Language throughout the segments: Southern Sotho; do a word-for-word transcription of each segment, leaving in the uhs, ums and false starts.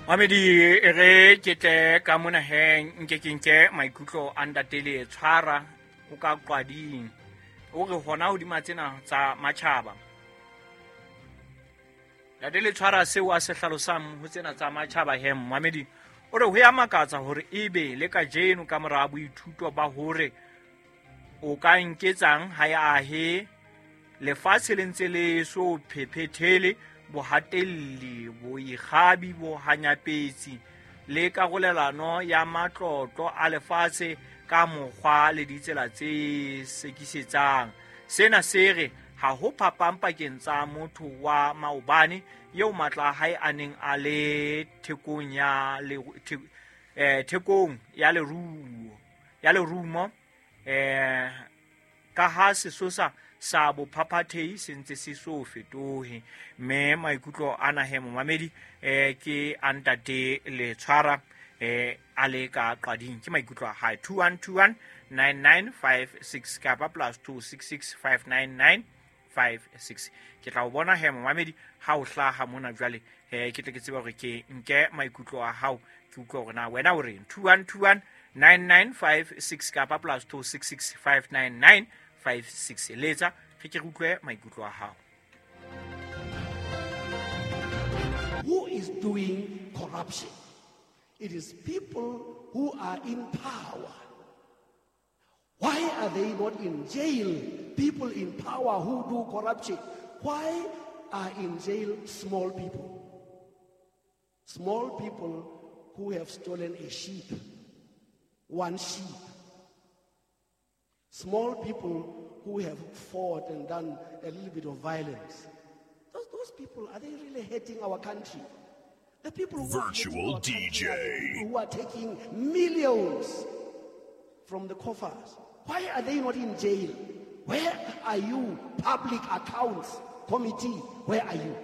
Mamedi e re ke tle ka mona he nke ke nke maikutlo a ntate le tshwara o ka qwading o re hona hodima tsena tsa matjhaba. Ntate le tshwara seo a se hlalosang ho tsena tsa matjhaba he Mamedi o re ho ya makatsa hore ebe le kajeno ka mora boithuto ba hore o ka nketsang ha ya ahe lefatshe le ntse le so phephethele bohatelli boikgabi bohanyapetsi le karolelano ya matlotlo a lefatshe ka mokgwa le ditsela tse sekisetsang. Sena se re ha ho phapang pakeng tsa motho wa maobane eo matla a hae a neng a le thekong ya le eh thekong ya leruo ya lerumo eh ka ha sesosa sa bophaphathehi se ntse se so fetohe. Mme maikutlo ana he momamedi eh ke a ntate le tshwara eh a le ka qading ke maikutlo a hae two one two one nine nine five six kapa plus two six six five nine nine five six. Ke tla o bona he momamedi ha o hlaha mona jwale eh ke tle ke tsebe hore ke nke maikutlo a hao ke utlwe hore na wena o reng. Two one two one nine nine five six kapa plus two six six five nine nine five six. Letsa re ke re utlwe maikutlo a hao. Who is doing corruption? It is people who are in power. Why are they not in jail? People in power who do corruption. Why are in jail small people? Small people who have stolen a sheep, one sheep. Small people who have fought and done a little bit of violence. Those, those people, are they really hating our country? The people who Virtual are hating our D J. country are the people who are taking millions from the coffers. Why are they not in jail? Where are you, Public Accounts Committee? Where are you?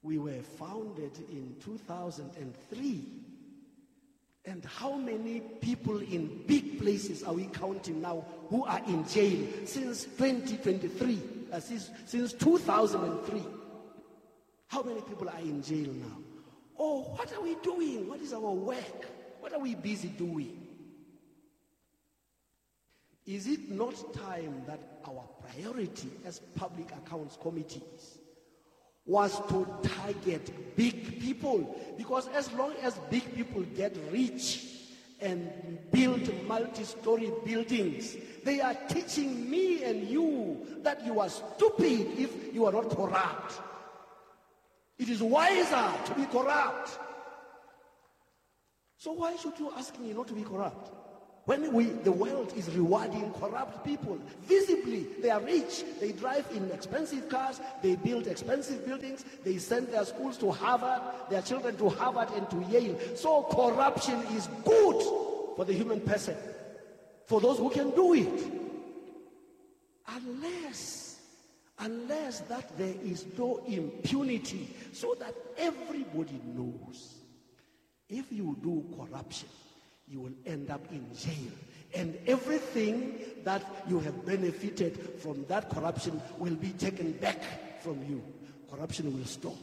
We were founded in two thousand three. And how many people in big places are we counting now who are in jail since twenty twenty-three, uh, since, since two thousand three? How many people are in jail now? Oh, what are we doing? What is our work? What are we busy doing? Is it not time that our priority as public accounts committees was to target big people? Because as long as big people get rich and build multi-story buildings, they are teaching me and you that you are stupid if you are not corrupt. It is wiser to be corrupt. So why should you ask me not to be corrupt? When we, the world is rewarding corrupt people, visibly, they are rich. They drive in expensive cars. They build expensive buildings. They send their schools to Harvard, their children to Harvard and to Yale. So corruption is good for the human person, for those who can do it. Unless, unless that there is no impunity, so that everybody knows if you do corruption, you will end up in jail. And everything that you have benefited from that corruption will be taken back from you. Corruption will stop.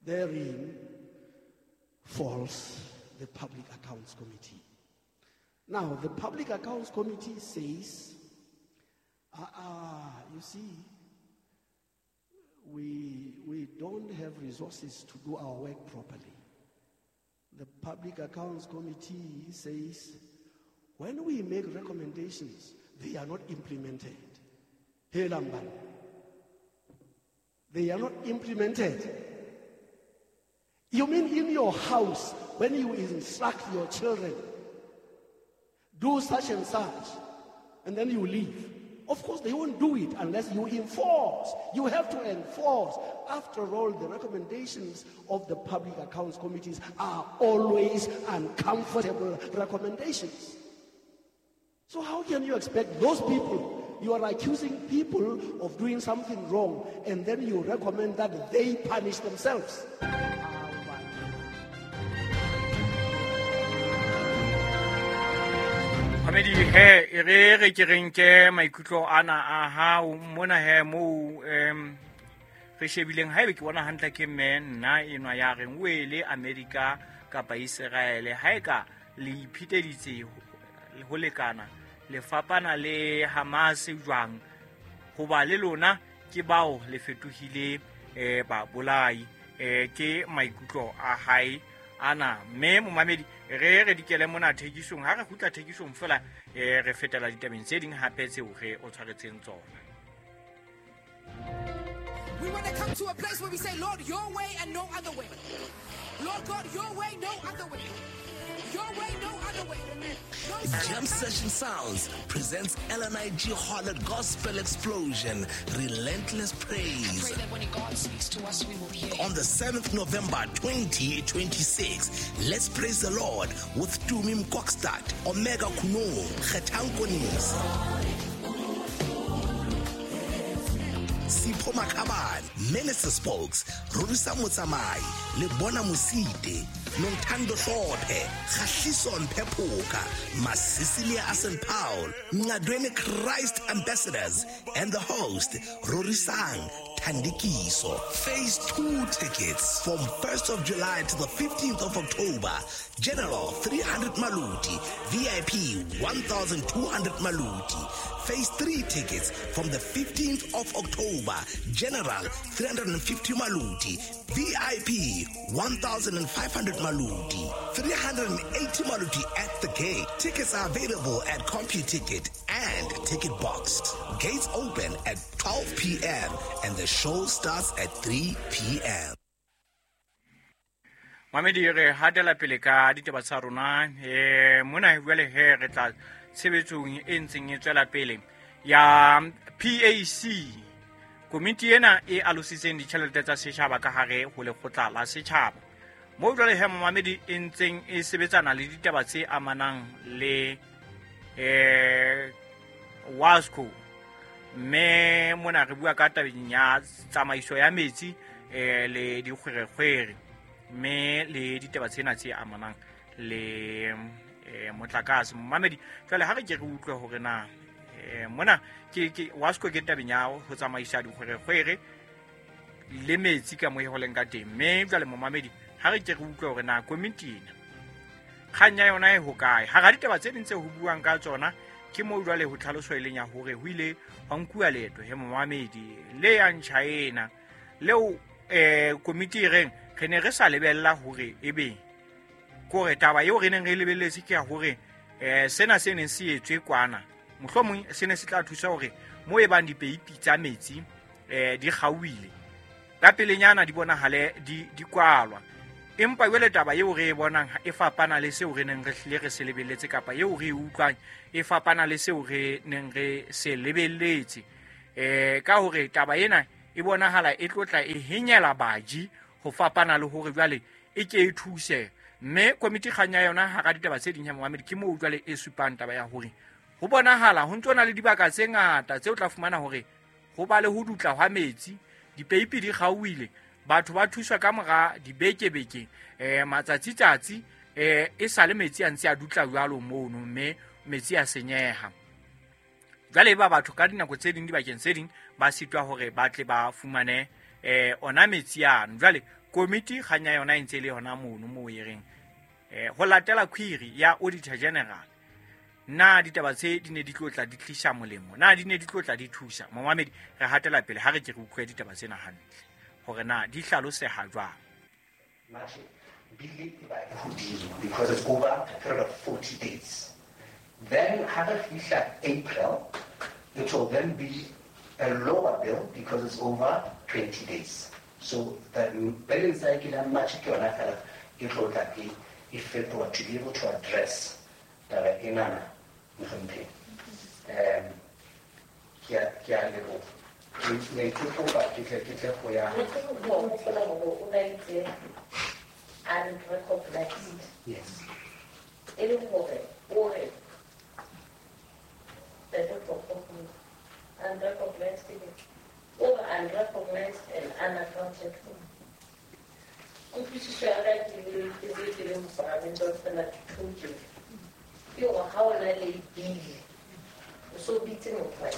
Therein falls the Public Accounts Committee. Now, the Public Accounts Committee says, ah, ah, you see, we, we don't have resources to do our work properly. The Public Accounts Committee says, when we make recommendations, they are not implemented. Hey, Lamban. They are not implemented. You mean in your house, when you instruct your children, do such and such, and then you leave. Of course, they won't do it unless you enforce. You have to enforce. After all, the recommendations of the Public Accounts Committees are always uncomfortable recommendations. So how can you expect those people? You are accusing people of doing something wrong, and then you recommend that they punish themselves. Mamedi he e re re ke re nke maikutlo ana a hao mona he moo em re shebileng haebe ke bona hantle ke mme nna enwa ya reng wele America kapa Israel ha e ka le ipheteditse ho lekana le fapana le Hamas jwang hoba le lona ke bao le fetohile eh ba bolai eh ke maikutlo a hae ana mme momamedi re re dikele mona thekisong ha re khutla thekisong fela eh re fetela ditabeng tse ding hape tseo re o tshwaretseng tsona. We want to come to a place where we say, Lord, your way and no other way. Lord God, your way, no other way. Your way, no other way. No. Jam Session Sounds presents L N I G Harlot Gospel Explosion, Relentless Praise. I pray that when God speaks to us, we will hear. On the seventh of November twenty twenty-six, let's praise the Lord with Tumi Mkokstad, Omega Kuno, Kgethankonisa, Sipho Makhabane, Minister Spokes, Rorisa Motsamai, Lebona Mosite, Nontando Hlophe, Khahliso Mphephuka, Masisilia Asen Paul, Ngadweni Christ Ambassadors, and the host, Rorisang Thandikiso. Phase two tickets from first of July to the fifteenth of October. General three hundred Maluti, V I P one thousand two hundred Maluti. Phase three tickets from the fifteenth of October. General three hundred fifty Maluti, V I P one thousand five hundred Maluti, three hundred eighty Maluti at the gate. Tickets are available at CompuTicket and Ticket Box. Gates open at twelve p.m. and the show starts at three p.m. Mamedi re hatela pele ka ditaba tsa rona eh mona jwale he re tla tshebetsong e ntseng e tswela pele ya P A C. Komiti ena e alositseng ditjhelete tsa setjhaba ka hare ho lekgotla la setjhaba. Mo jwale he momamedi e ntseng e sebetsana le ditaba tse amanang le eh WASCO. Mme mona re bua ka tabeng ya tsamaiso ya metsi eh le dikgwerekgwere mme le ditaba tsena tse amanang le eh motlakase. Momamedi jwale ha re ke re utlwe hore na eh mona ke ke WASCO ke tabeng ya ho tsamaisa dikgwerekgwere le metsi ka mo e holeng ka teng. Mme jwale momamedi ha re ke re utlwe hore na komiti ena kgang ya yona e hokae. Ha ra ditaba tse ding tse ho buang ka tsona ke mo jwale ho tlhaloso e leng ya hore ho ile hwa nkuwa leeto he momamedi le yang China leo eh komiti e reng re ne re sa lebella hore ebe kore taba eo re neng re lebelletse ke ya hore eh sena se neng se etswe kwana mohlomong se ne se tla thusa hore mo e bang dipeipi tsa metsi eh di kgauwile ka pelenyana di bonahale di di kwalwa. Empa jwale taba eo re e bonang e fapana le seo re neng re hlile re se lebelletse kapa eo re e utlwang e fapana le seo re neng re se lebelletse eh ka hore taba ena e bonahala e tlotla e henyela baji ho fapana le hore jwale e ke e thuse. Mme komiti kgang ya yona hara ditaba tse ding ya momamedi ke moo jwale e supang taba ya hore ho bonahala ho ntso na le dibaka tse ngata tseo tla fumana hore ho ba le ho dutla hwa metsi, dipeipi di kgauwile, batho ba thuswa ka mora dibekebeke eh matsatsi tsatsi eh e sale metsi a ntse a dutla jwalo mono mme metsi a senyeha. Jwale ba batho ka dinako tse ding dibakeng tse ding ba sitwa hore ba tle ba fumane eh ona metsi ano. Jwale komiti kgang ya yona e ntse le yona mono moo e reng eh ho latela query ya Auditor General na ditaba tse di ne di tlotla di tlisa molemo, na di ne di tlotla di thusa. Momamedi re hatela pele ha re ke re utlwe ditaba tsena hantle hore na di hlaloseha jwang. March bill e ba e hodimo because it's over a period of forty days. Then ha re fihla April, it will then be a lower bill because it's over twenty days. So the billing cycle ya March ke yona fela e tlotla e e fetoha to be able to address taba enana mohlomphehi. Um ke a ke a leboha. Ne ke kopa ke tle ke tle go ya unrecognized. Yes. E le hore o re unrecognized or unrecognized and unaccounted for. Kutlwisiso ya ka ke le ke le ke le mopalamente wa fela dithuto ke hore ha o na le bill o so bitse motho wa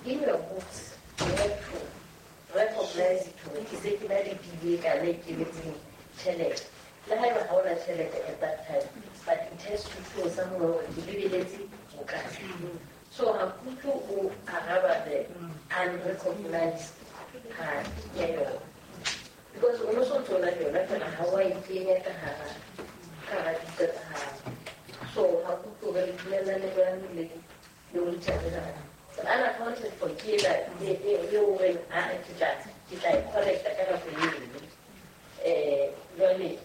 in your books you have to recognize it hore ke se ke na le bile ka le kenetseng tjhelete. Le haeba ha ona tjhelete at that time, but it has to show somewhere hore ke lebeletse bokae. So ha ke utlwe o araba the unrecognized part ya yona. Because o no so ntso na le yona fela ha wa e kenya ka hara ka hara dibuka tsa hao. So ha ke utlwe hore le dumellane jwang le le o itjhebela. Unaccounted for ke ena eo o reng ha ke tla ke tla e collecta ka nako eno. Eh jwale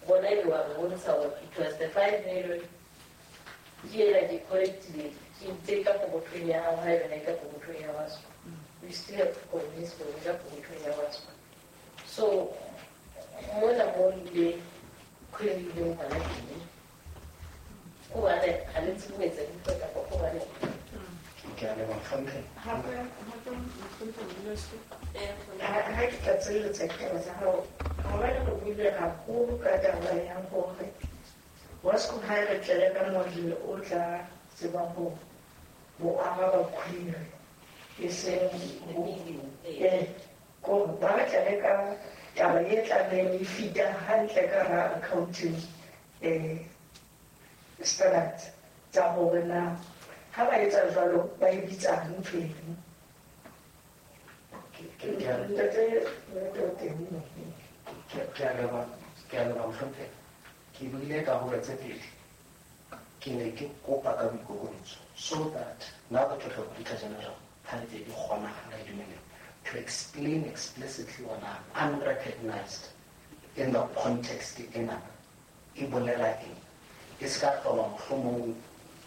bona e wa bontsha hore it was the five million ke ena ke collectile ke ntse ka pokothong ya hao ha ebe ne ka pokothong ya Wasco. You still have to convince me ka pokothong ya Wasco. So mona mo le query le ngwana teng. Hobane ha le tsebe ho etsa dintho kapa hobane ke a leboha mohlomphehi. Hape hape mohlomphehi Modulasetulo. Ha ke tla tsweletsa ditaba tsa hao, maobane re buile haholo ka taba ya hore Wasco ha e re tlele ka model o tla tsebang ho ho araba query e seng eh ko ba re tlele ka taba e tlabeng e fita hantle ka hara accounting eh standards tsa hore na ha ba etsa jwalo ba e bitsa ntho eno. Ntate Ntate o teng mo. Ke a leboha ke a leboha mohlomphehi. Ke buile ka hore tse pedi. Ke ne ke kopa ka boikokobetso so that now that we have Auditor General ha ntse di kgonahala e dumele to explain explicitly on unrecognized in the context ena e bolela eng. E se ka hlola mohlomong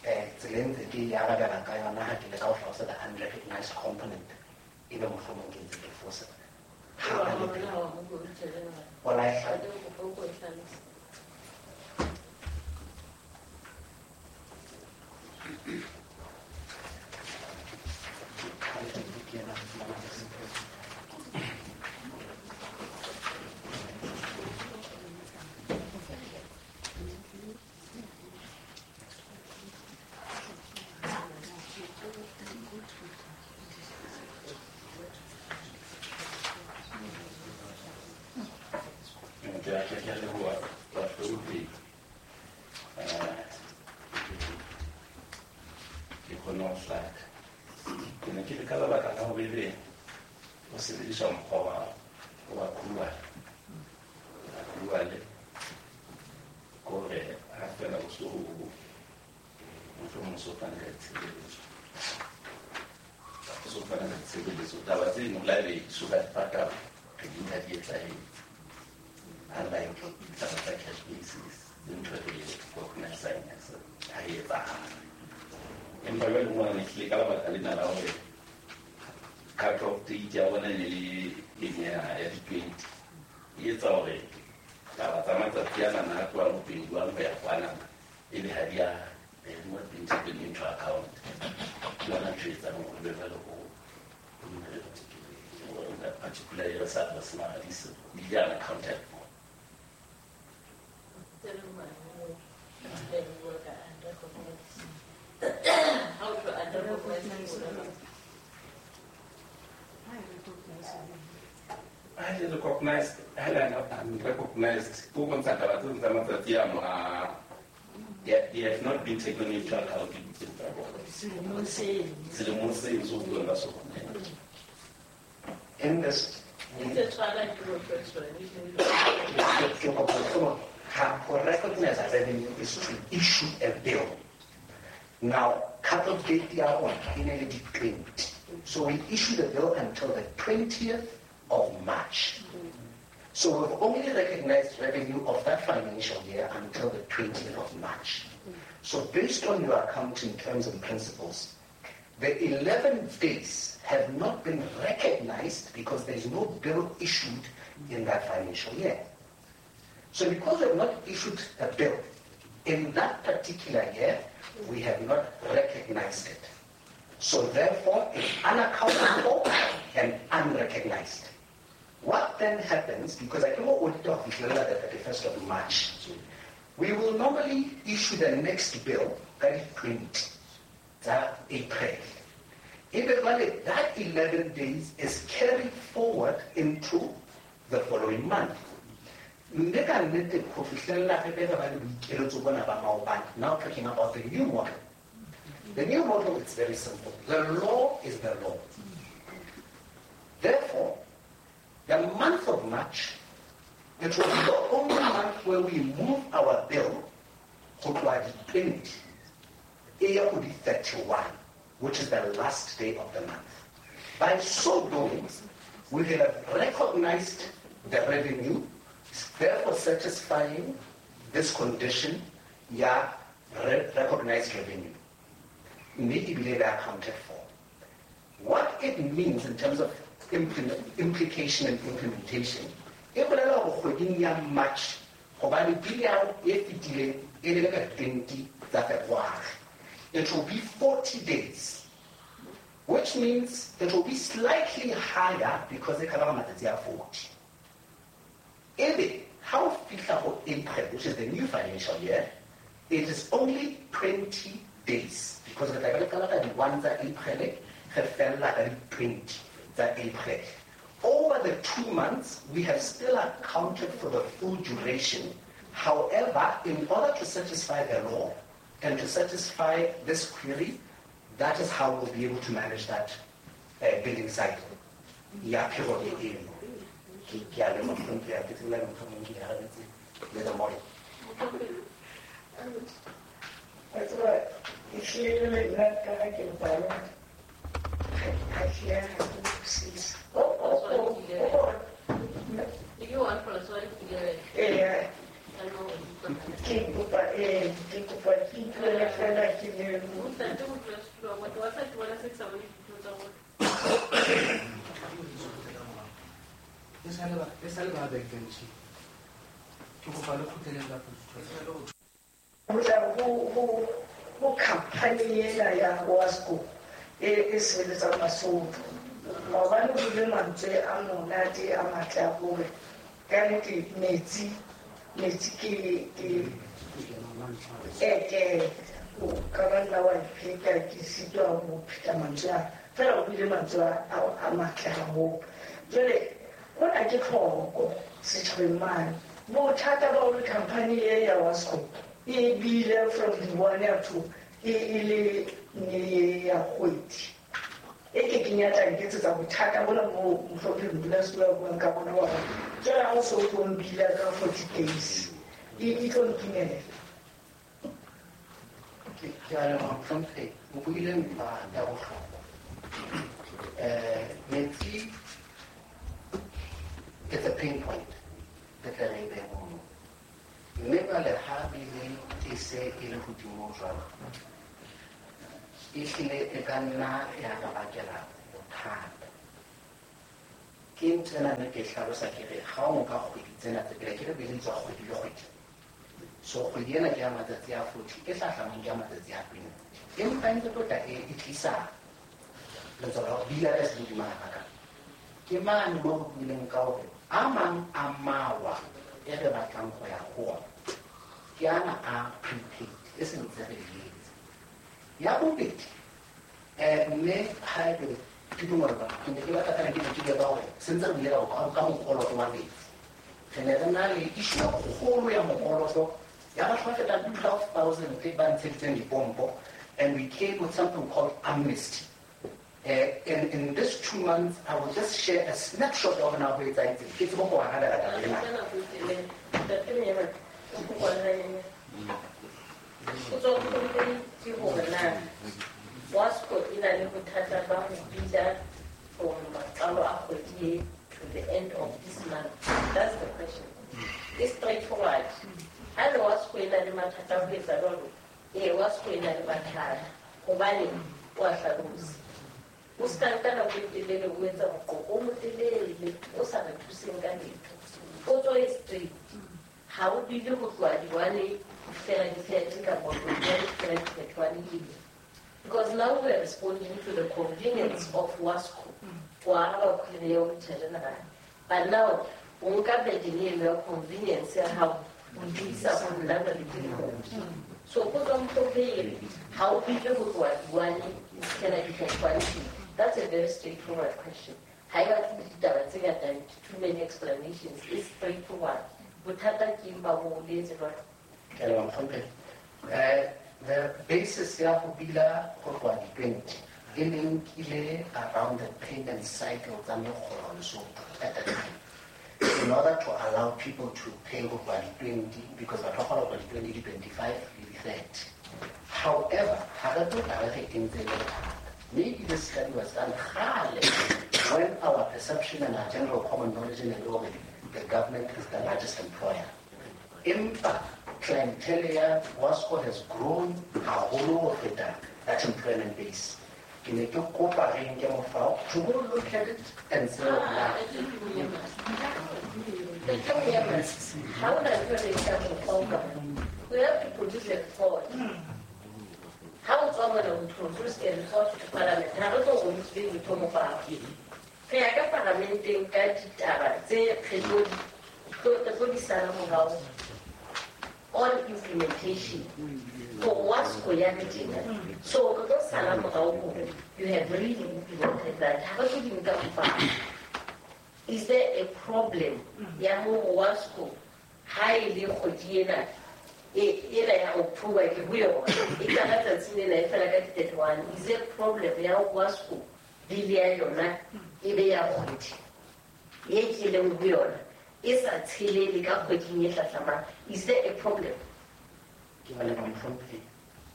eh tseleng tse ke e arabelang ka yona ha ke leka ho hlalosa the unrecognized component e be mohlomong ke ntse ke fosa. Ha ba le pele. Ola e hla- Ke a ke a leboha bahlomphehi. Eh ke kgone ho hlaka. Ke ne ke le ka lebaka la hore ebe o sebedisa mokgwa wa wa accrual. Accrual ke hore ha feela o so mohlomong o so fane ka ditshebeletso. O so fane ka ditshebeletso. Taba tseno le ha ebe di so ka di patala, re di nka di etsahetse. Unlike ditaba tsa cash basis, le ntho e recognizang as ha e etsahala. Empa jwale mona ne tlile ka lebaka lena la hore cut off date ya bona e ne le eng ya ya di-twenty. E etsa hore taba tsa matsatsi anana a tlohang ho twenty-one ho ya kwanana ebe ha di a they have not been taken into account. Ke yona ntho e etsang hore be jwale ho in that particular year sa re sena di se di unaccounted for. Ha e recognized, ha le unrecognized, ko bontsha taba tseno tsa matsatsi ano a they, they have not been taken into account dibukeng tsa bona. Selemong seno. Selemong seno se o buang ka sona. In this Ntse tshwana ke professor. ke kopa ho ha ho recognize revenue is to issue a bill. Now, cut-off date ya rona e ne le di-twenty. So we issue the bill until the twentieth of March. So we've only recognized revenue of that financial year until the twentieth of March. So based on your accounting terms and principles, the eleven days have not been recognized because there is no bill issued in that financial year. So because we have not issued a bill in that particular year, we have not recognized it. So therefore, it's unaccounted for and unrecognized. What then happens, because I cannot audit of the thirty-first of March, we will normally issue the next bill, that is twenty, that April. Ebe jwale that eleven days is carried forward into the following month. Mme ka nnete ho fihlella re be re ba le boikeletso bona ba maobane. Now talking about the new model. The new model is very simple. The law is the law. Therefore, the month of March, it will be the only month where we move our bill ho tloha di twenty e ya ho di thirty-one, which is the last day of the month. By so doing, we will have recognized the revenue, therefore satisfying this condition ya re- recognized revenue. Mme ebile they are accounted for. What it means in terms of implement, implication and implementation, e bolela hore kgweding ya March, hobane bill ya hao e fetileng e le ka twenty tsa February, it will be forty days, which means it will be slightly higher because e cover matsatsi a forty. Ebe ha o fihla ho April, which is the new financial year, it is only twenty days because re tla be re qala ka di-one tsa April, re fella ka di-twenty tsa April. Over the two months, we have still accounted for the full duration. However, in order to satisfy the law and to satisfy this query, that is how we'll be able to manage that uh, billing cycle. Ya period eno. Ke ke a leboha mohlomphehi, ha ke tsebe le mohlomong ke arabetse le the model. Wa tseba, ehlile le nna ka ha ke bala, ha ke ha ke utlwisise. Eya, ke kopa ee, ke kopa ke ipuele fela ke le E sale ba e sale ba bekentshi. Ke kopa le kgutleleng ka potso. Ho tla ho ho ho company ena ya Wasco e e sebeletsang Basotho. Maobane ho buile mantswe a monate a matle a hore ka nnete metsi metsi ke ke e ke o ka ba nna wa ipheta ke sitwa ho pheta mantswe a fela o buile mantswe a a matle haholo. Jwale hona ke tlhoko setjhabeng mane. Bothata ba hore company e ya Wasco e bile from the one up to e e le ne ya kgwedi. E ke keng ya tla nketsetsa bothata bona bo mohlomphehi modulasetulo a buang ka bona wa hore jwale ha o so o tlo mbila ka forty days e e tlo nkimela. Ke ke a leboha mohlomphehi, o buile ntlha ya bohlokwa. Eh, metsi it's a pain point re tle re e behe mono. Mme jwale ha bile e se e le hodimo jwalo, ehlile e ka nna ya re bakela bothata. Ke ntho ena ne ke hlalosa ke re ha o nka kgwedi tsena tse pele, ke re bile tswa kgwedi le kgwedi. So kgwedi ena ke ya matsatsi a forty, e hlahlamang ke ya matsatsi a twenty. Empa e ntse tlo tla e e tlisa letswalo la hore bile ya ka se hodimo hakakang. Ke mane mo re buileng ka hore a mang a mawa e re batlang ho ya ho ona ke ana a prepaid e se ntse re etse. Ya bobedi, eh, mme ha ebe ke dumela ba ke ne ke batla fela ke ne ke bua ka hore se ntse re buile ka ka mokoloto wa metsi. Re ne re na le issue e kgolo ya mokoloto ya batho ba fetang twelve thousand ba ntsheditseng dipompo, and we came with something called amnesty. Uh, in, in this two months, I will just share a snapshot of now ho etsahetseng. Ke tsebe ho arabela taba ena. Potso ke hore na Wasco e na le bothata ba ho bitsa from maqalo a kgwedi e to the end of this month. That's the question. It's straightforward. Ha le Wasco e na le mathata a ho etsa jwalo, ee Wasco e na le mathata hobane o a hlalosa. O ska nka nako e telele o etsa moqoqo o motelele o sa re thuseng ka letho. Potso e straight. Ha o bile ho tloha di-one ho fihlela di-thirty kapa ho tloha di-one ho fihlela di-thirty-one ebile. Because now we are responding to the convenience of Wasco. Ho araba query ya Auditor General. But now, o nka burden eno ya convenience ya hao o isa ho nna jwale ke le. So potso mohlomphehi, ha o bile ho tloha di-one ho fihlela di-thirty-one. That's a very straightforward question. Ha e batle ditaba tse ngata, too many explanations. It's straightforward. Bothata ke eng ba ho le etse jwalo? Ke a leboha, mohlomphehi. Eh, the basis ya ho bila ho tloha di-twenty e linkile around the payment cycle tsa mekgolo Lesotho at the time, in order to allow people to pay ho tloha di-twenty, because batho ba kgona ho tloha di-twenty, di-twenty-five le di-thirty. However, ha re tlo tla re re entse le bothata. Maybe this study was done kgale when our perception and our general common knowledge in the hore the government is the largest employer. Empa clientele ya WASCO has grown haholo ho feta that employment base. Ke ne ke kopa re nke mofao to go look at it and say, Ah, ha hona ntho e re nkang mofao ka mona. We have to produce a report. Ha o tswa mona o produce a report to parliament. Ha re tlo go be ntho mofao. Re ya ka parlamenteng ka ditaba tse re tlo di re tlo di sala morao on implementation. For WASCO ya le tjena. So re tlo sala morao hore you have really implemented that. Ha re tlo di nka mofao. Is there a problem ya hore WASCO ha e le kgwedi ena e ena ya October ke ho yona e qala tsatsing lena e fela ka di-thirty-one, is there a problem ya hore WASCO bill ya yona e be ya kgwedi e ke leng ho yona e sa tshelele ka kgweding e hlahlamang? Is there a problem? Ke a leboha, mohlomphehi.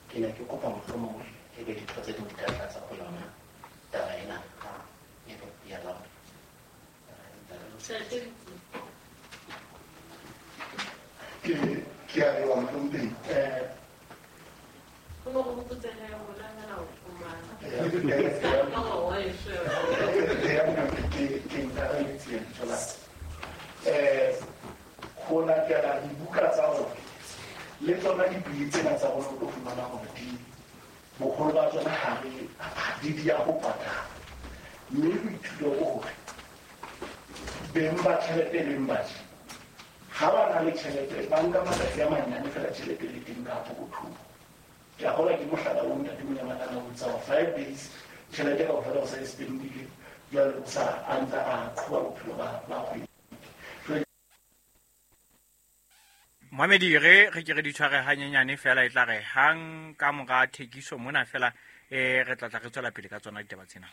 Ke ne ke kopa mohlomong e be ditho tse ding di ka tlatsa ho yona taba ena ha e be ya laola. Ke ke a leboha, mohlomphehi. Eh, Ho no go botseha rona hela o fumana. ke ke ntarametse lebitso la ka. Eh, ho latela dibuka tsa rona le tsona dibili tsena tsa rona, o tlo fumana hore di boholo ba tsona ha re di di ya ho patala, mme boithuto ke hore beng ba tjhelete beng ba je ha ba na le tjhelete ba nka matsatsi a manyane fela tjhelete le teng ka pokothong. Ke a kgolwa ke mohlala o ntate Monyamalala o tsa five days tjhelete kaofela o sa e spendile, jwale o sa a ntsa a qhoba bophelo ba ba kgwedi. Mohamedi, re re ke re di tshware hanyenyane fela, e tla re hang ka mora thekiso mona fela eh re tla tla re tswela pele ka tsona ditaba tsena.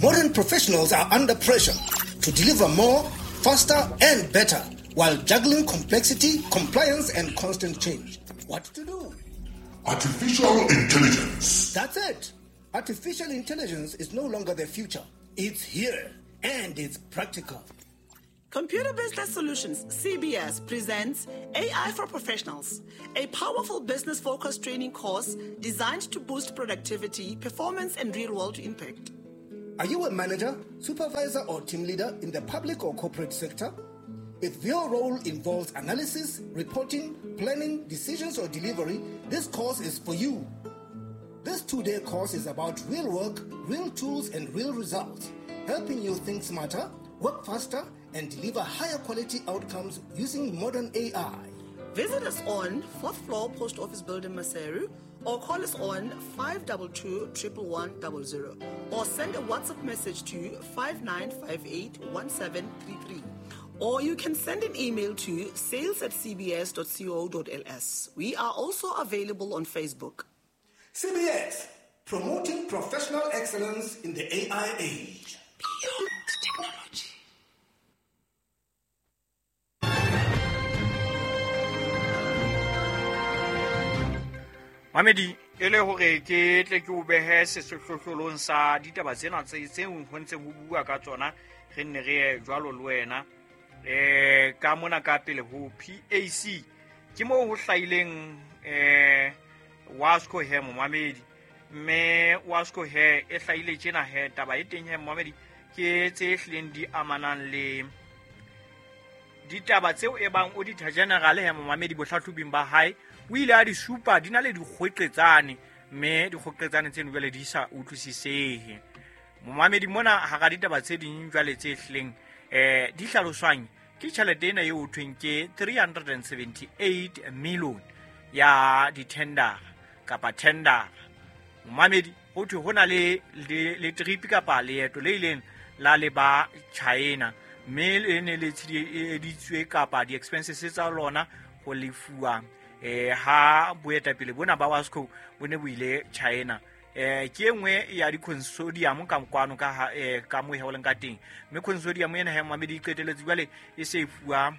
Modern professionals are under pressure to deliver more, faster and better while juggling complexity, compliance and constant change. What to do? Artificial intelligence. That's it. Artificial intelligence is no longer the future. It's here and it's practical. Computer Business Solutions, C B S, presents A I for Professionals, a powerful business-focused training course designed to boost productivity, performance, and real-world impact. Are you a manager, supervisor, or team leader in the public or corporate sector? If your role involves analysis, reporting, planning, decisions, or delivery, this course is for you. This two-day course is about real work, real tools, and real results, helping you think smarter, work faster, and deliver higher quality outcomes using modern A I. Visit us on fourth floor Post Office Building, Maseru, or call us on five two two, one one one zero zero, or send a WhatsApp message to five nine five eight, one seven three three. Or you can send an email to sales at c b s dot co dot l s. We are also available on Facebook. C B S, promoting professional excellence in the A I age. Beyond technology. Mamedi, e le hore ke tle ke o behe sehlohlolong sa ditaba tsena tse tseo ho ntseng ho bua ka tsona, re nne re ye jwalo le wena. Eh, ka mona ka pele ho P A C ke moo ho hlahileng eh WASCO he momamedi, mme WASCO he e hlahile tjena he taba e teng he momamedi ke tse hlileng di amanang le ditaba tseo e bang Auditor General he momamedi bohlahlobing ba hae o ile a di supa di na le dikgweqetsane, mme dikgweqetsane tseno jwale di sa utlwisisehe. Momamedi mona hara ditaba tse ding jwale tse hlileng eh di hlaloswang ke tjhelete ena eo ho thweng ke three hundred seventy-eight million ya di-tender kapa tender. Momamedi ho thwe ho na le le, le trip kapa leeto le ileng la leba China, mme le ne le tsheditswe kapa di-expenses tsa lona ho lefuwa eh ha boetapele bona ba WASCO bo ne bo ile China. Eh ke engwe ya di-consortium ka kwano ka eh ka mo heoleng ka teng, mme consortium ena ha momamedi e qeteletse jwale e se e fuwa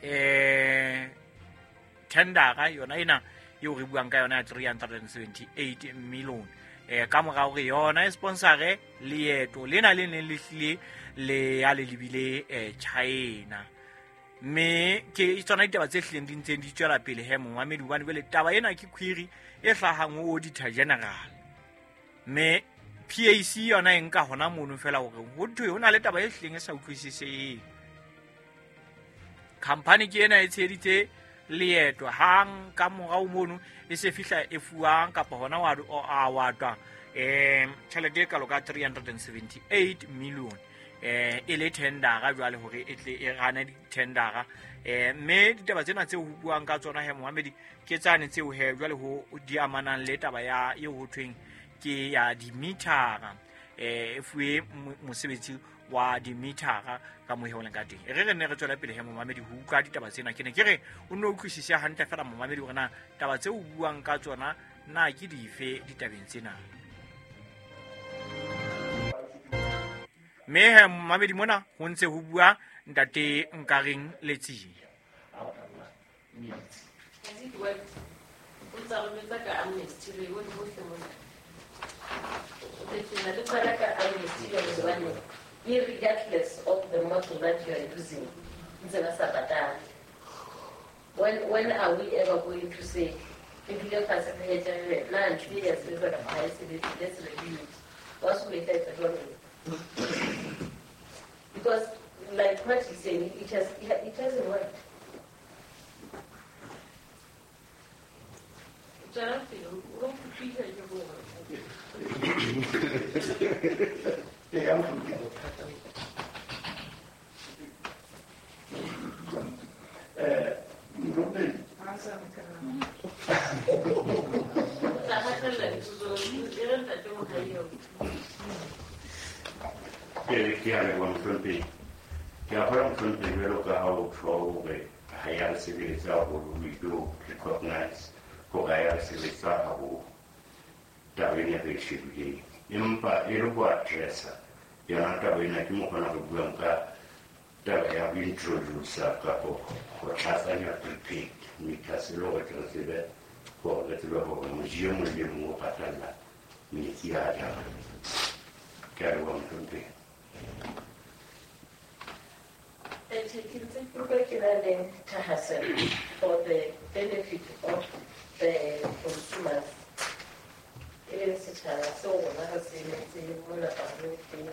eh tendera yona ena eo re buang ka yona ya three hundred seventy-eight million eh ka mora hore yona e sponsore leeto lena le neng le hlile le ya le lebile eh China. Mme ke tsona ditaba tse hlileng di ntseng di tswela pele he momamedi, hobane jwale taba ena ke query e hlahang ho Auditor General, mme P A C yona e nka hona mono fela hore ho thwe ho na le taba e hlileng e sa utlwisiseheng. Khampani ke ena e tsheheditse leeto hang ka morao mono e se fihla e fuwang kapa hona wa a watwa eh tjhelete e kalo ka three hundred seventy-eight million eh e le tendera jwale hore e tle e rane ditendera. Eh mme ditaba tsena tseo ho buang ka tsona he momamedi ke tsane tseo he jwale ho di amanang le taba ya eo ho thweng ke ya dimitara, eh e fuwe mosebetsi wa dimitara ka mo heoleng ka teng. E re re ne re tswela pele he momamedi ho utlwa ditaba tsena, ke ne ke re o nno utlwisise hantle fela momamedi hore na taba tseo o buang ka tsona na ke dife ditabeng tsena. Mme he momamedi mona ho ntse ho bua ntate Nkareng Letsie. Has it worked? O ntsa rometsa ka amnesty re bone hohle mona. Le tsena le qala ka amnesty hobane irregardless of the model that you are using, ntse ba sa patale. When when are we ever going to say re dule fatshe re etse na ntho e ya sebetsa kapa ha e sebetse, let's review it. Wa so etsa etsa jwalo? Because like what he's saying, it has it hasn't worked. Tswela pele, o utlwisisa ke bone. Ee, mohlomphehdi. Eh, mohlomphehdi. Tla hatella dipotso, e re ntate Mohaio. Ke ke a leboha mohlomphehdi. Ke a kgolwa mohlomphehdi jwalo ka ha o tjho hore ha ya re sebetsa haholo, we do recognize hore ha ya re sebetsa haholo taba ena re e shebileng. Empa e le ho addressa yona taba ena ke mokgona re buang ka taba ya ho introduce-a kapo ho tlatsanya prepaid meters e le hore tle re tsebe hore re tsebe hore moji e mong le mong o patalla metsi a jang. Ke a leboha mohlomphehdi. Ke ntse ke utlwa ke na le thahasello for the benefit of the consumers, e leng setjhaba seo rona re se emetseng mona parlamenteng.